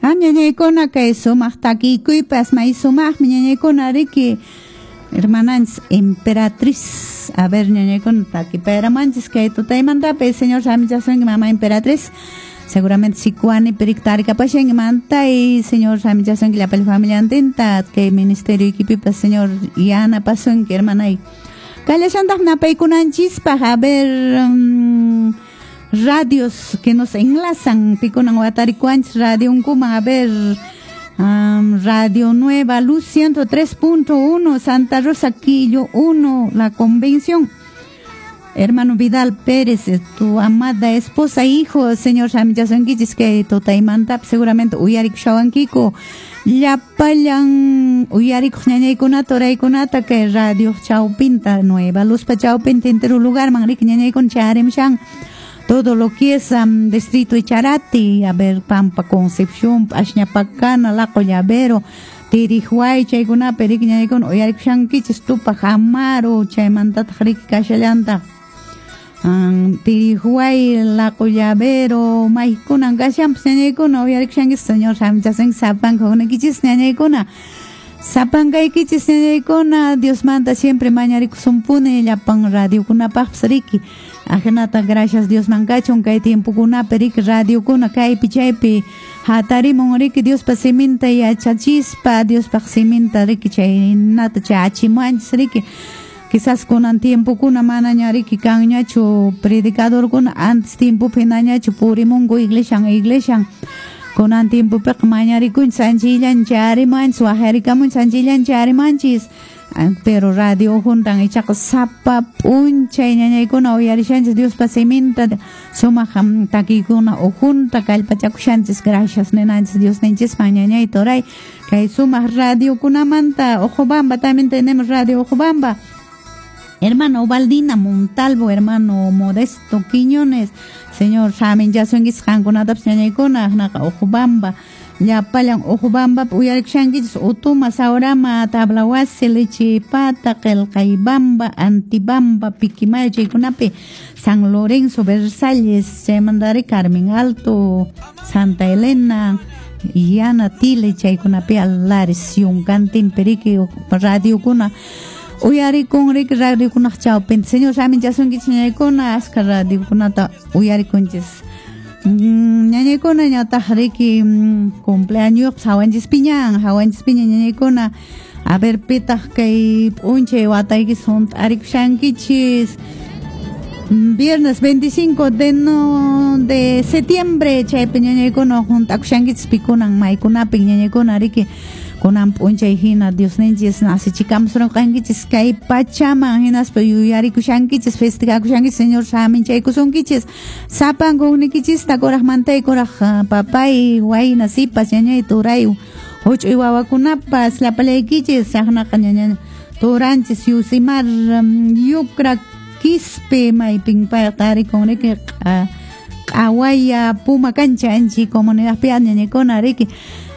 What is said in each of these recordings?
Ñañaykuna kay sumaq takikuypas may sumaqmi ñañaykuna riki hermananchis Emperatriz. A ver, ñañaykuna takipayramanchis kay tutaymantapi señor samichasunki mama Emperatriz. Seguramente Sicuani perictaricapashanki mantay señor samichasunki llapalla familiantinta kay ministerio equipipas señor yanapasunki hermanay. Kallashantaq napaykunanchispaq a ver radios que nos enlazan pikunan watarikuanchis radionkuman a ver Radio Nueva Luz 103.1 Santa Rosa Quillo 1 La Convención. Hermano Vidal Pérez, tu amada esposa, hijo, señor Samichasunkichis que tutaymantap seguramente uyarikushawankiku llapallan uyarikuq ñañaykunata uraykunata kay radio chawpinta Nueva Luzpa chawpinta entero lugarman riki ñañaykuna charimushan todo lo que es distrito Echarati, a ver, Pampa Concepción, Ashñapacana, Laco Llavero, Tirihuay, chaykunapi riki ñañaykuna uyarikushankichis Tupac Amaru, chaymantataq riki kashallantaq Tirihuay, Laco Llavero, maykunan kashanpas ñañaykuna uyarikushankichis señor samichasunki sapanka huknaykichis ñañaykuna sapankaykichis ñañaykuna Diosmanta siempre mañarikusunpuni llapan radiokunapaqpas riki ajinata gracias Diosman kachun kay tiempokunapi riki radiokuna kaypi chaypi hatarimun riki Diospa siminta yachachispa Diospaq siminta riki chaynata chachimuanchis riki quizás kunan tiempokuna manaña riki kanñachu predicadorkuna antes tiempopi hinañachu purimunku iglesian iglesian kunan tiempopiqa mañarikunchis anchillan charimanchis waqharikamunchis anchillan charimanchis pero radio juntan ichaqa sapa p'unchay ñañaykuna uyarishanchis Diospa siminta sumaq takiykuna ujunta kallpachakushanchis gracias ninanchis Diosninchisman ñañay turay kay sumaq radiokunamanta Ojobamba también tenemos radio Ojobamba. Hermano Ubaldina Montalvo, hermano Modesto Quiñones, señor saminchasunkichis qankunatapas ñañaykuna naqa Ojobamba llapallan Ojobamba uyarikushankichis Utuma, Saurama, Tablawasi, Lechipata, Qillqaybamba, Antibamba, Piquimayo chaykunapi San Lorenzo, Versalles, chaymantari Carmen Alto, Santa Elena, Yana Tile chaykunapi Alares, Yunkantinpi riki radiokuna uyarikun riki radiokunaq chawpinta señor saminchasunkichis ñañaykuna askha radiokunata uyarikunchis ñañaykuna ñataq riki cumpleaños hawanchispiñan hawanchispiña ñañaykuna a ver pitaq kay p'unchay wataykis hunt'arikushankichis viernes 25 de septiembre chaypi ñañaykuna hunt'akushankichis pikunan maykunapi ñañaykuna riki kunan p'unchay hina Diosninchis nasichikamusurqankichis kay pachaman hinaspa yuyarikushankichis festejakushankichis señor saminchaykusunkichis sapanka hukniykichista kuraqmantay kuraq papay wayna sipas ñañay turay huch'uy wawakunapas llapallaykichis chaqnaqa ñaña turanchis Yusimar Yukra Quispe maypin payqa tarikun riki q'awaya Puma Cancha anchi comunidadpi ñañaykuna riki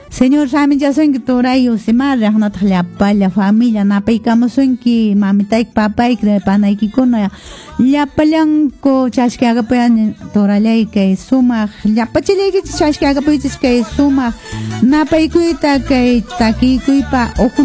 Señor saminchasunki turay Yusimar raqnataq llapalla familia napaykamusunki mamitayki papayki panaykikuna llapallanku chashkiakapuyan turallay kay sumaq llapachallaykichis chashkiakapuychis kay sumaq napaykuyta kay takiykuypa uju